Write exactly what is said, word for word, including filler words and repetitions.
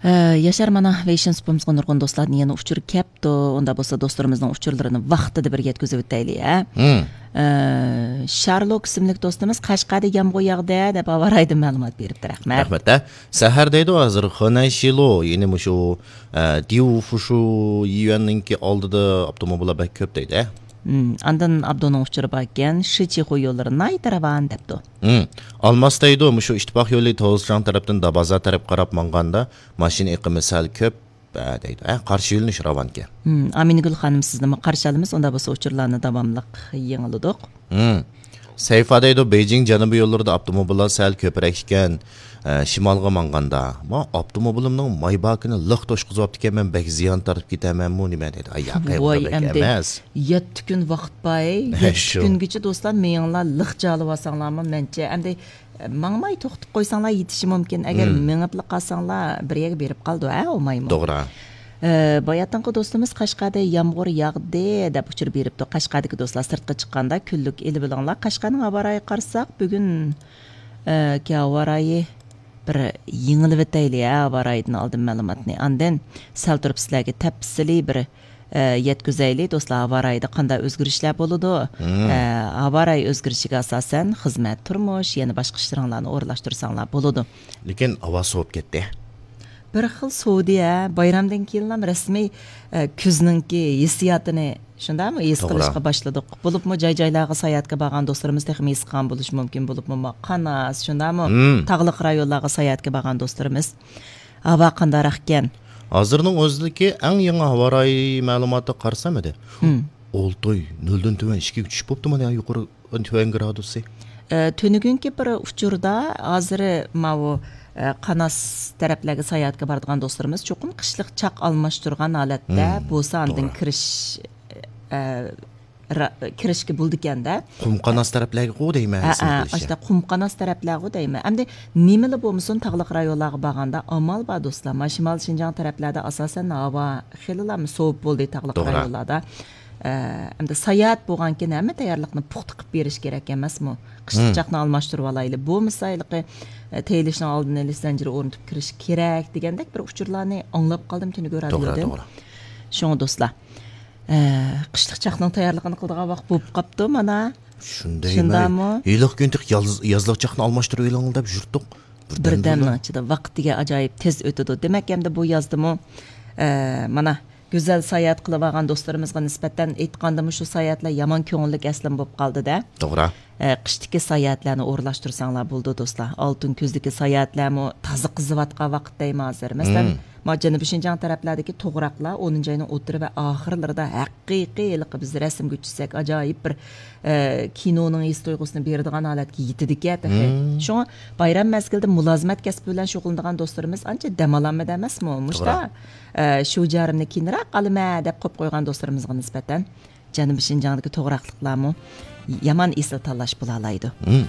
ئە، ياشار، مانا ۋېيشىن سۇپىمىزغا نۇرغۇن دوستلاردىن يەنە ئۇچۇر كەپتۇ. ئۇندا بولسا دوستلىرىمىزنىڭ ئۇچۇرلىرىنى ۋاقتىدا بىر يەتكۈزۈۋېتەيلى، ھە؟ ھىم. ئە، شارلوك ئىسىملىك دوستىمىز، «قەشقەردە يامغۇر ياغدى» دەپ، ھاۋا رايىدىن مەلۇمات بېرىپتۇ. رەھمەت. رەھمەت، ھە. سەھەر دەيدۇ، ھازىر خېنەنشىلو، يەنى مۇشۇ، ئە، ديۇفۇشۇ يۈەننىڭكى ئالدىدا ئاپتوموبىللار بەك كۆپ دەيدۇ، ھە؟ ھىم، ئاندىن ئابدۇنىڭ ئۇچۇرى باركەن، شىچىخۇ يوللىرى ناھايىتى راۋان دەپتۇ. ھىم. ئالماس دەيدۇ، مۇشۇ ئىتتىپاق يولى توزچاڭ تەرەپتىن دابازا تەرەپ قاراپ ماڭغاندا، ماشىنا ئېقىمى سەل كۆپ، ھە، دەيدۇ. ھە، قارشى يۆنىلىش راۋانكەن. ھىم، ئامىنگۈل خانىم، سىزنىمۇ قارشى ئالىمىز. ئۇندا بولسا ئۇچۇرلارنى داۋاملىق يېڭىلىدۇق. ھىم. سەيفا دەيدۇ، بېيجىڭ جەنۇبىي يوللىرىدا ئاپتوموبىللار سەل كۆپرەك ئىكەن، ئە، شىمالغا ماڭغاندا. ما ئاپتوموبىلىمنىڭ ماي باكىنى لىق توشقۇزۇۋاپتىكەنمەن، بەك زىيان تارتىپ كېتەمەنمۇ نېمە دەيدۇ. ئاي، ياق، ۋاي، بەك ئەمدى ئەمەس. يەتتە كۈن ۋاقىت بار، ھە، يەتتە شۇ. كۈنگىچە دوستلار مېڭىڭلار لىق جالىۋالساڭلارمۇ مەنچە. ئەمدى، ئە، ماڭماي توختىتىپ قويساڭلار يېتىشى مۇمكىن. ئەگەر ھىم. مېڭىپلا قالساڭلار بىر يەرگە بېرىپ قالىدۇ، ھە، ئۇ مايمۇ. توغرا. ئە، باياتىنقى دوستىمىز، «قەشقەردە يامغۇر ياغدى» دەپ ئۇچۇر بېرىپتۇ. قەشقەردىكى دوستلار، سىرتقا چىققاندا كۈنلۈك ئېلىۋېلىڭلار. قەشقەرنىڭ ھاۋا رايىغا قارىساق، بۈگۈن، ئە، كى ھاۋا رايى بىر يېڭىلىۋېتەيلى، ھە، ھاۋا رايىدىن ئالدىن مەلۇماتنى. ئاندىن سەل تۇرۇپ سىلەرگە تەپسىلىي بىر، ئە، يەتكۈزەيلى، دوستلار، ھاۋا رايىدا قانداق ئۆزگىرىشلەر بولىدۇ؟ ھىم. ئە، ھاۋا رايى ئۆزگىرىشىگە ئاساسەن، خىزمەت، تۇرمۇش، يەنە باشقا ئىشلىرىڭلارنى ئورۇنلاشتۇرساڭلار بولىدۇ. لېكىن ھاۋا سوۋۇپ كەتتى. بىر خىل سوۋۇدى، ھە. بايرامدىن كېيىنلا رەسمىي، ئە، كۈزنىڭكى ھېسسىياتىنى، شۇنداقمۇ، ھېس توغرا. قىلىشقا باشلىدۇق. بولۇپمۇ جاي-جايلارغا ساياھەتكە بارغان دوستلىرىمىز تېخىمۇ ھېس قىلغان بولۇشى مۇمكىن. بولۇپمۇ ما-، قاناس، شۇنداقمۇ، ھىم. تاغلىق رايونلارغا ساياھەتكە بارغان دوستلىرىمىز. ھاۋا قانداقراقكەن؟ ھازىرنىڭ ئۆزىدىكى ئەڭ يېڭى ھاۋا رايى مەلۇماتىغا قارىسام ئىدى. ھىم. ئالتە ئاي نۆلدىن تۆۋەن ئىككىگە چۈشۈپ بوپتۇ مانا يۇقىرى تۆۋەن گرادۇسى. ئە، تۈنۈگۈنكى بىر ئۇچۇردا ھازىر ماۋۇ، ئە، قاناس تەرەپلەرگە ساياھەتكە بارىدىغان دوستلىرىمىز چوقۇم قىشلىق چاق ئالماشتۇرغان ھالەتتە ھىم، بولسا ئاندىن توغرا. كىرىش، ئە، را-، كىرىشكە بولىدىكەن-دە. قۇم قاناس تەرەپلەرگىغۇ دەيمەن، ھە، ھەسىم ھە، قىلىشى. ئاشتا قۇم قاناس تەرەپلەرغۇ دەيمەن. ئەمدى نېمىلا بولمىسۇن، تاغلىق رايونلارغا بارغاندا ئامال بار، دوستلار. ما شىمال شىنجاڭ تەرەپلەردە ئاساسەن ھاۋا خېلىلا سوۋۇپ بولدى تاغلىق توغرا. رايونلاردا. ئە، ئەمدى ساياھەت بولغانكىن ھەممە تەييارلىقنى پۇختا قىلىپ بېرىش كېرەك ئەمەسمۇ؟ قىشلىق مم. چاقنى ئالماشتۇرۇۋالايلى. بولمىسا ھېلىقى، ئە، تېيىلىشنىڭ ئالدىنى ئېلىش زەنجىرى ئورنىتىپ كىرىش كېرەك دېگەندەك بىر ئۇچۇرلارنى ئاڭلاپ قالدىم تۈنۈگۈن توغرا، رادىيودىن. توغرا. شۇڭا دوستلار، ئە، قىشلىق چاقنىڭ تەييارلىقىنى قىلىدىغان ۋاقىت بولۇپ قاپتۇ مانا. شۇندايمۇ؟ شۇنداقمۇ؟ ھېلىقى كۈن تېخى ياز-، يازلىق چاقنى ئالماشتۇرۇۋېلىڭ دەپ يۈرتتۇق. بىردەمنىڭ ئىچىدە ۋاقىت دېگەن ئاجايىپ تېز ئۆتىدۇ. دېمەك، ئەمدى بۇ يازدىمۇ، ئە، مانا، گۈزەل ساياھەت قىلىۋالغان دوستلىرىمىزغا نىسبەتەن ئېيتقاندىمۇ، شۇ ساياھەتلەر يامان كۆڭۈللۈك ئەسلىمە بولۇپ قالدى-دە. توغرا. ئە، قىشتىكى ساياھەتلەرنى ئورۇنلاشتۇرساڭلار بولىدۇ، دوستلار. ئالتۇن كۈزدىكى ساياھەتلەرمۇ تازا قىزىۋاتقان ۋاقىت دەيمەن ھازىر. مەسىلەن، مم. ما جەنۇبىي شىنجاڭ تەرەپلەردىكى توغراقلار ئونىنچى ئاينىڭ ئوتتۇرا ۋە ئاخىرلىرىدا ھەقىقىي ھېلىقى بىز رەسىمگە چۈشسەك ئئاجايىپ بىر، ئە، كىنونىڭ ھېس تۇيغۇسىنى بېرىدىغان ھالەتكە يېتىدىكەن تېخى. مم. شۇڭا بايرام مەزگىلىدە مۇلازىمەت كەسپى بىلەن شۇغۇللىنىدىغان دوستلىرىمىز ئانچە دەم ئالالمىدى ئەمەسمۇ؟ مۇشتا، توغرا. ئە، شۇ جارىمنى كېيىنرەك ئالىمەن دەپ قويۇپ قويغان دوستلىرىمىزغا نىسبەتەن جەنۇبىي شىنجاڭدىكى توغراقلىقلارمۇ يامان ئېسىل تاللاش بولالايدۇ. مم.